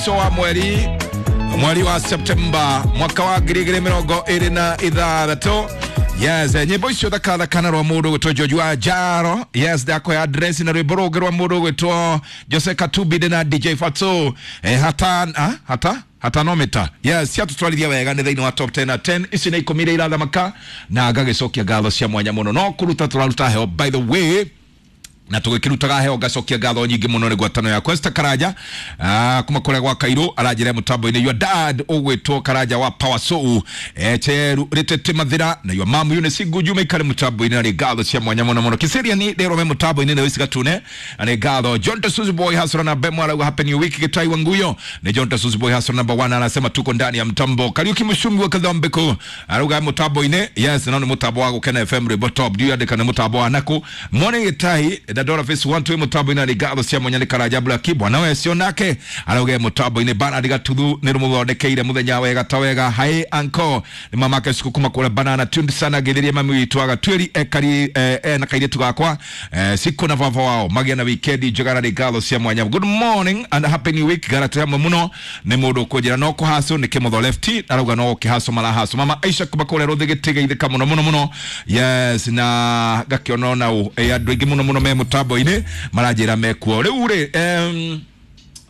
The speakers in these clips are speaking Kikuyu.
Mũico wa mweri, mweri wa Septemba mwaka wa 2026. Yes, nyimbo icio thakathakana rwa mũndũ gwĩtwo George wa Jaro. Yes, ndakoya address na rwĩmbo rũngĩ rwa mũndũ gwĩtwo Jose Katumbi na DJ Fatso, hata hata hatanometa. Yes, ciatũtwarithia wega nĩ thĩinĩ wa top 10 na 10 ici nĩ 10 iria irathamaka, na ngagĩcokia ngatho cia mwanya mũno. No kũruta tũraruta heo, by the way, na tũgĩkĩrutaga heo ngacokia ngatho nyingĩ mũno nĩ ngwatano ya Questa Karanja, kuma kũrĩa gwa Kairũ, aranjĩra mũtambo-inĩ your dad ũgwĩtwo Karanja wa Power Soul, Cheru Rĩtete Mathira, na your mom Eunice Nguju maikare mũtambo-inĩ, na nĩ ngatho cia mwanya mũno mũno. Kiserian rĩro me mũtambo-inĩ nĩ Wĩci Gatune, na nĩ ngatho. John Tasuzi Boy Hasra na Bemo arauga happy new week. Gĩtai wa Nguyo nĩ John Tasuzi Boy Hasra number 1, anasema tuko ndani ya mtambo. Kariuki Mushumbi wa Kathambeko arauga mũtambo-inĩ, yes, no nĩ mũtambo wa Gũkena FM, rwĩmbo top ndiũ yandĩka nĩ mũtambo wa naku mwone Gĩtai Dandora Face 1 2 mũtambo-inĩ, nĩ ngatho cia mwanya nĩ Karanja Black bwana wecio nake arauga mũtambo-inĩ. Bernard Gatuthu nĩ rũmũthondekeire mũthenya wega ta wega. Hai anko nĩ mamake ciku kuma kũrĩa banana tuned sana, ngĩthĩria mami witũ agatwĩri ekari na kairĩtu gakwa, siku na baba wao magĩa na weekend njega, na nĩ ngatho cia mwanya. Good morning and happy new week. Garate hamwe mũno nĩ mũndũ ũkũnjĩra no kũhaco nĩ kĩmotho left, arauga no kĩhaco marahaco. Mama Aisha kuma kũrĩa rũthĩ gĩtĩ mũno mũno mũno. Yes, na ngakĩona ona andũ aingĩ mũno mũno me mũtambo-inĩ maranjĩra mekuo rĩu rĩ,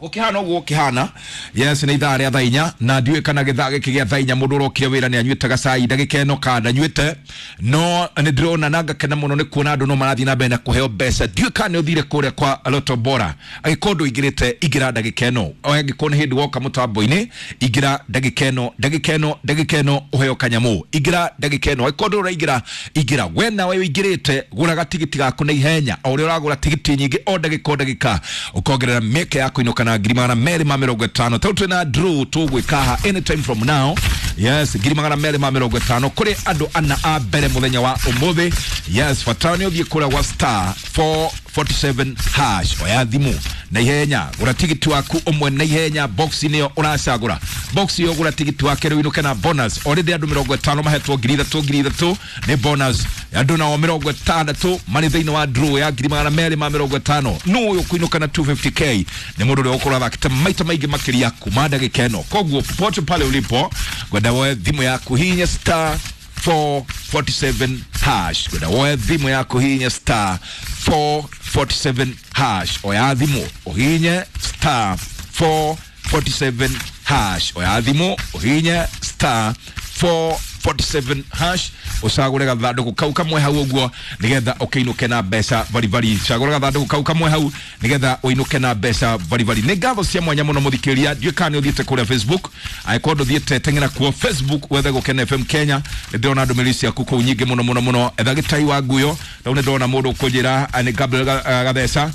gũkĩhana ũguo gũkĩhana. Yes, nĩ ithaa rĩa thaa 4, na ndiũĩ kana gĩthaa gĩkĩ gĩa thaa 4 mũndũ ũrokire wĩra nĩ anyuĩte gacai ndagĩka ĩno kana ndanyuĩte, no nĩ ndĩrona na ngakena mũno nĩ kuona andũ no marathiĩ na mbere na kũheo mbeca. Ndiũĩ kana nĩ ũthire kũrĩa kwa Lotto Bora. Angĩkorwo ndũingĩrĩte, ingĩra ndagĩka ĩno. Angĩkorwo nĩ hĩndĩ woka mũtambo-inĩ, ingĩra ndagĩka ĩno, ndagĩka ĩno, ndagĩka ĩno ũheo kanyamũ. Ingĩra ndagĩka ĩno. Angĩkorwo ndũraingĩra, ingĩra. We nawe ũingĩrĩte, gũra gatigiti gaku na ihenya. O ũrĩa ũragũra tigiti nyingĩ o ndagĩka o ndagĩka, ũkongerera mĩeke ya kũinũka na 250,000. Tau twĩna draw tũgwĩka haha anytime from now. Yes, 250,000 kũrĩ andũ ana a mbere mũthenya wa ũmũthĩ. Yes, bata nĩ ũthiĩ kũrĩa gwa star 447 hash, oya thimũ na ihenya, gũra tigiti waku ũmwe na ihenya. Box nĩyo ũracagũra, box ĩyo gũra tigiti wake rĩu inũke na bonus. Already andũ 50 mahetwo 3,000, 3,000 nĩ bonus. Andũ nao 60 marĩ thĩinĩ wa draw ya 250,000. Nũ ũyũ kũinũka na 250K? Nĩ mũndũ ũrĩa ũgũkorwo athakĩte maita maingĩ makĩria kuma ndagĩka ĩno. Koguo popote pale ulipo, ngwenda woe thimũ yaku, hinya star 447 hash. Ngwenda woe thimũ yaku, hinya star 447 hash. Oya thimũ ũhinye star 447 hash. Oya thimũ ũhinye star 447 hash, ũcagũre gathandũkũ kau kamwe hau ũguo nĩgetha ũkĩinũke na mbeca baribari. Cagũra gathandũkũ kau kamwe hau nĩgetha ũinũke na mbeca baribari. Nĩ ngatho cia mwanya mũno mũthikĩrĩria. Ndiũĩ kana nĩ ũthiĩte kũrĩa Facebook. Angĩkorwo ndũthiĩte, teng'era kuo Facebook wethe Gũkena FM Kenya. Nĩ ndĩrona ndũmĩrĩri ciaku kũu nyingĩ mũno mũno mũno. Etha Gĩtai wa Nguyo. Rĩu nĩ ndĩrona mũndũ ũkũnjĩra nĩ Gabriel Gatheca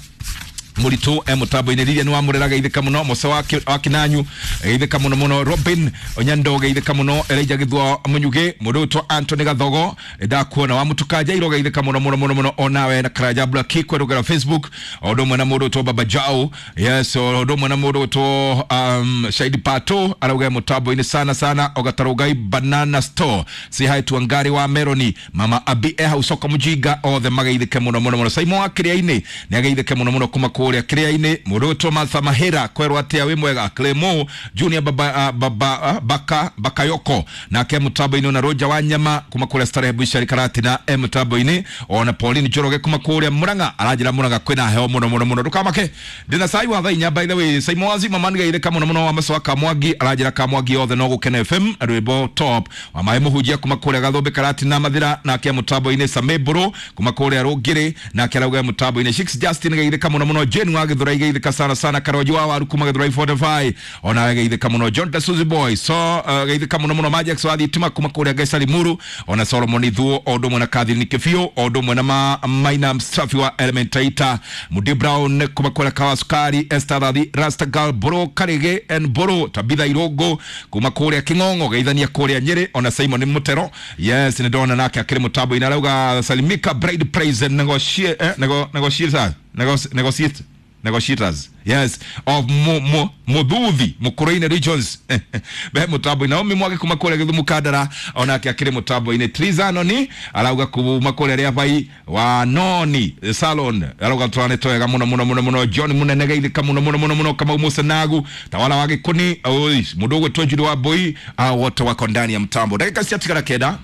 mũritũ e mũtambo-inĩ. Lilia nĩ wamũrera, geithĩka mũno. Mosa wa Kinanyu, geithĩka mũno mũno. Robin Onyando, geithĩka mũno. Elijah Githua Mũnyugĩ, mũndũ ũtwo Anthony Gathogo, ndakuona. Wa Mũtuka Jairo, geithĩka mũno mũno mũno mũno onawe. Na Karanja Black kwerũgera Facebook, o ũndũ ũmwe na mũndũ ũtwo Baba Jao. Yes, o ũndũ ũmwe na mũndũ ũtwo Shaidi Pato, arauga mũtambo-inĩ sana sana. Ogatarũgai Banana Store, say hi to Angari wa Meroni, Mama Abi e hau soko Mujinga, othe mageithĩke mũno mũno mũno. Saimo wa Kĩrĩa-inĩ nĩ ageithĩke mũno mũno kuma kũrĩa Kĩrĩa-inĩ. Mũndũ ũtwo Martha Mahĩra, kwerwo atĩa, wĩ mwega? Clemo Junior baba, baba, baka Bakayoko nake mũtambo-inĩ, ona Roja wa Nyama kuma kũrĩa Starehe Bushari Karatina e mũtambo-inĩ, ona Pauline Njoroge kuma kũrĩa Murang'a, aranjĩra Murang'a kwĩna heho mũno mũno mũno. Ndũkamake, ndĩna cai wa thaa 4. By the way, Saimo wa Zima man, geithĩka mũno mũno. Wa Macoa Kamwangi, aranjĩra Kamwangi othe no Gũkena FM, rwĩmbo top. Wa maĩ mũhunjia kuma kũrĩa Gathũmbĩ Karatina Mathira nake mũtambo-inĩ. Same Mbũrũ kuma kũrĩa Rũngĩrĩ nake arauga mũtambo-inĩ. Six Justin, geithĩka mũno mũno. Jane wa Gĩthũrai, geithĩka sana sana. Karonji wa Waru kuma Gĩthũrai 45 ona geithĩka mũno. John Tasuzi Boy so, geithĩka mũno mũno. Majax wa Thitima kuma kũrĩa Gaisari Muru, ona Solomon Ithuo, o ũndũ ũmwe na Catherine Kĩbiũ, o ũndũ ũmwe na Maina Msafi wa Elementaita, Mudi Brown kuma kũrĩa Kawa Sukari, Esther Thathi, Rasta Girl Bro Karige and Bro Tabitha Irongo kuma kũrĩa King'ong'o, geithania kũrĩa Nyĩrĩ, ona Simon Mutero. Yes, nĩ ndona nake akĩrĩ mũtambo-inĩ, arauga salimika bride price negotiate, negotiate, negotiate. Negotiators, yes, of Muthuthi Mukuruini regions be mutambo-inĩ. Naomi Mwagi kuma kũrĩa Gĩthumo Kandara onake akĩrĩ mutambo-inĩ. Triza Noni arauga kuma kũrĩa Rĩabai wa Noni Salon arauga twanĩtwo wega mũno mũno mũno mũno. John Munene geithĩka mũno mũno mũno mũno. Kamau Musenagu Tawala wa Gĩkũni, oi mũndũ ũgwĩtwo Njiri wa Mbui, wote wako ndani ya mtambo. Ndagĩka ciatigara kenda,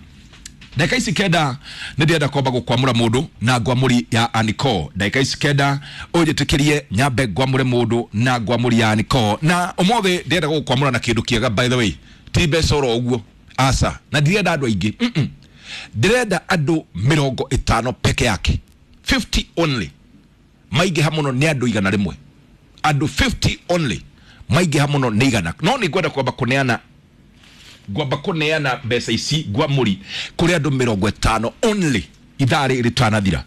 ndagĩka ici kenda nĩ ndĩrenda kwamba gũkwamũra mũndũ na ngwamũri ya Aniko. Ndagĩka ici kenda ũnjĩtĩkĩrie nyambe ngwamũre mũndũ na ngwamũri ya Aniko, na ũmũthĩ ndĩrenda gũgũkwamũra na kĩndũ kĩega, by the way, ti mbeca oro ũguo, aca, na ndirenda andũ aingĩ. Ndĩrenda andũ 50 peke yake, 50 only, maingĩha mũno nĩ andũ 100, andũ 50 only, maingĩha mũno nĩ 100. No nĩ ngwenda kwamba kũneana, ngwamba kũneana mbeca ici ngwamũri kũrĩ andũ 50 only ithaa rĩrĩ rĩtanathira,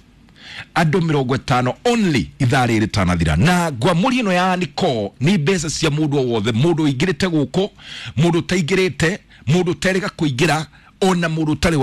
andũ 50 only ithaa rĩrĩ rĩtanathira. Na ngwamũri ĩno ya Niko nĩ mbeca cia mũndũ o wothe, mũndũ ũingĩrĩte gũkũ, mũndũ ũtaingĩrĩte, mũndũ ũterĩga kũingĩra, ona mũndũ ũtarĩ.